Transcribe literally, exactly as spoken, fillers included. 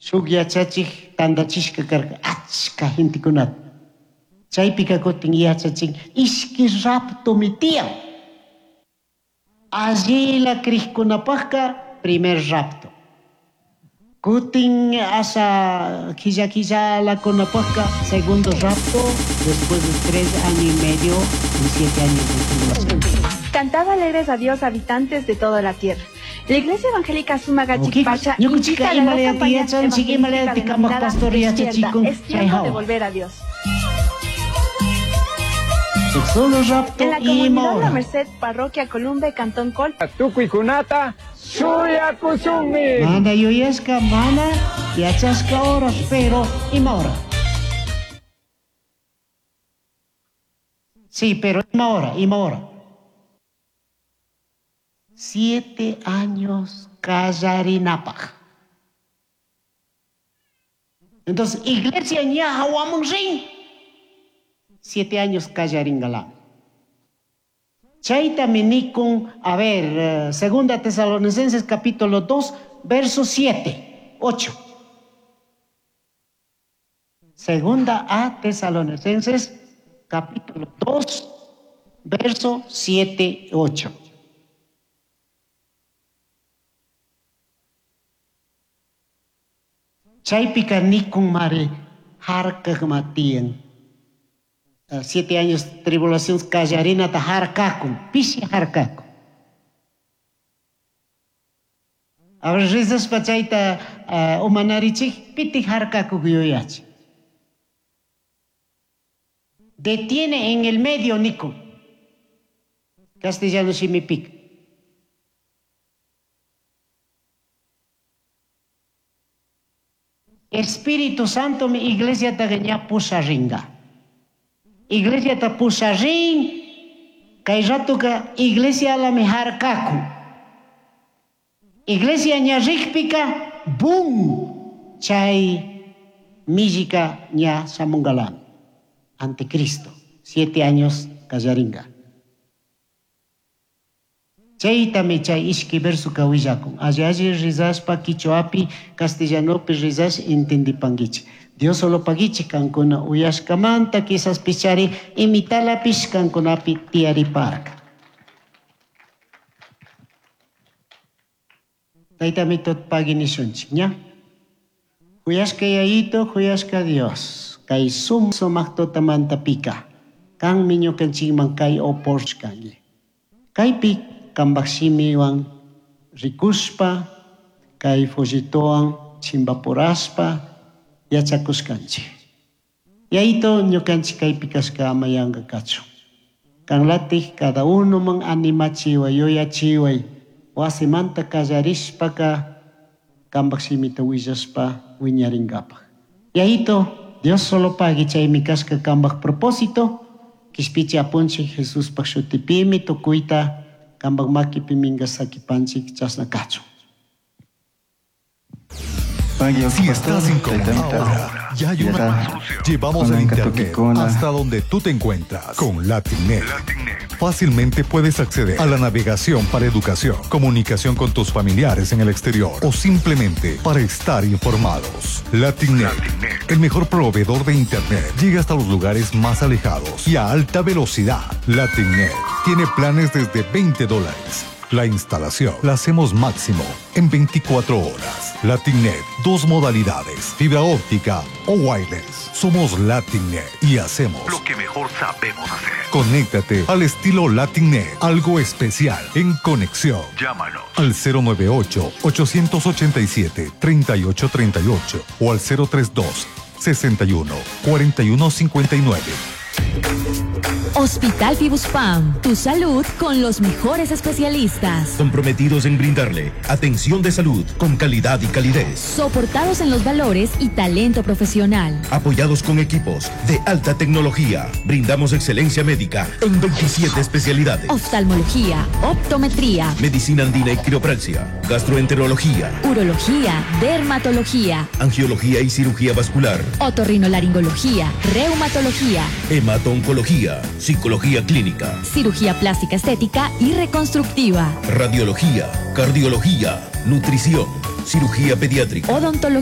Shuk yachachik tandachishka karka achka gentekunata. Chaypika kutin yachachin ishki raptomi tiyan. Allila krikkunapaqqa primer rapto. Kutin asa killa killalakunapaqqa segundo rapto después de tres años y medio y siete años de tribulación. Cantad alegres a Dios, habitantes de toda la tierra. La Iglesia Evangélica Sumagachipacha Ñukanchikka invita a la gran imalaya campaña yachanchik evangelística imalaya kamaq denominada pastor Despierta, yachachikun es chay tiempo de hawa. volver a Dios. Solo rapto En la ima comunidad La hora. Merced, Parroquia Columbe, Cantón Col, Tukuykunata shuyakushunmi. Mana yuyashka mana yachashka horas, pero ima hora. Sí, pero ima hora, ima hora. Siete años kallarinapaq. Entonces, iglesia ña hawaman rin. Siete años kallaringalami. Chaytami nikun, a ver, eh, Segunda Tesalonicenses capítulo dos, verso siete, ocho. Segunda a Tesalonicenses capítulo dos, verso siete, ocho. Chaypika nikun mari harkak matiyan. Uh, siete años tribulación kallarinata harkakun, pishi harkakun. A ver, rizaspa chayta, uh, umanarichik, piti harkakuk yuyachi. Detiene en el medio nikun. Castellano shimipik. Espíritu Santo mi iglesia ta ña pusharinga. Iglesia ta pusharin, kay ratuka iglesia la mi harkaku. Iglesia ña rikpika, bum, chay millika ña shamungalami. Anticristo, siete años kallaringa. Chaytami chay ishki verso kawillakun. Alli alli rizashpa quichuapi, castellanopi rizash entendipanguichi. Dios solo paguichi kankuna uyashkamanta quizás pichari imitalapish kankunapi tiariparka. Taytami tot paginishunchik, ña? Huyashka yayito, huyashka Dios. Kay sum sumaq pika. Kanmi ñukanchikman kay oporshkanki. Kaypi kambaq shimiwan rikushpa, kay folletowan chimpapurashpa yachakushkanchik. Yayito ñukanchik kaypi kashka ama yanka kachun. Kanlatik cada uno man animachiway, yuyachiway, wasimanta kallarishpaka kambaq shimita willashpa wiñarinkapaq. Yayito, Dios solo pagui chaymi kashka kambaq propósito, kishpichi apunchik Jesuspaq shutipimi tukuyta kambaq makipi minka sakipanchik chasna kachun. Si estás incómodo ahora, ya hay una solución. Llevamos el internet hasta donde tú te encuentras con LatinNet. Fácilmente puedes acceder a la navegación para educación, comunicación con tus familiares en el exterior o simplemente para estar informados. LatinNet, el mejor proveedor de internet, llega hasta los lugares más alejados y a alta velocidad. LatinNet tiene planes desde veinte dólares. La instalación la hacemos máximo en veinticuatro horas. LatinNet, dos modalidades, fibra óptica o wireless. Somos LatinNet y hacemos lo que mejor sabemos hacer. Conéctate al estilo LatinNet, algo especial en conexión. Llámanos al cero nueve ocho, ochocientos ochenta y siete, treinta y ocho treinta y ocho o al cero tres dos, sesenta y uno, cuarenta y uno cincuenta y nueve. Hospital Fibuspam, tu salud con los mejores especialistas. Comprometidos en brindarle atención de salud con calidad y calidez. Soportados en los valores y talento profesional. Apoyados con equipos de alta tecnología. Brindamos excelencia médica en veintisiete especialidades. Oftalmología, optometría, medicina andina y quiropraxia, gastroenterología, urología, dermatología, angiología y cirugía vascular, otorrinolaringología, reumatología, hemato-oncología, psicología clínica, cirugía plástica estética y reconstructiva, radiología, cardiología, nutrición, cirugía pediátrica, odontología.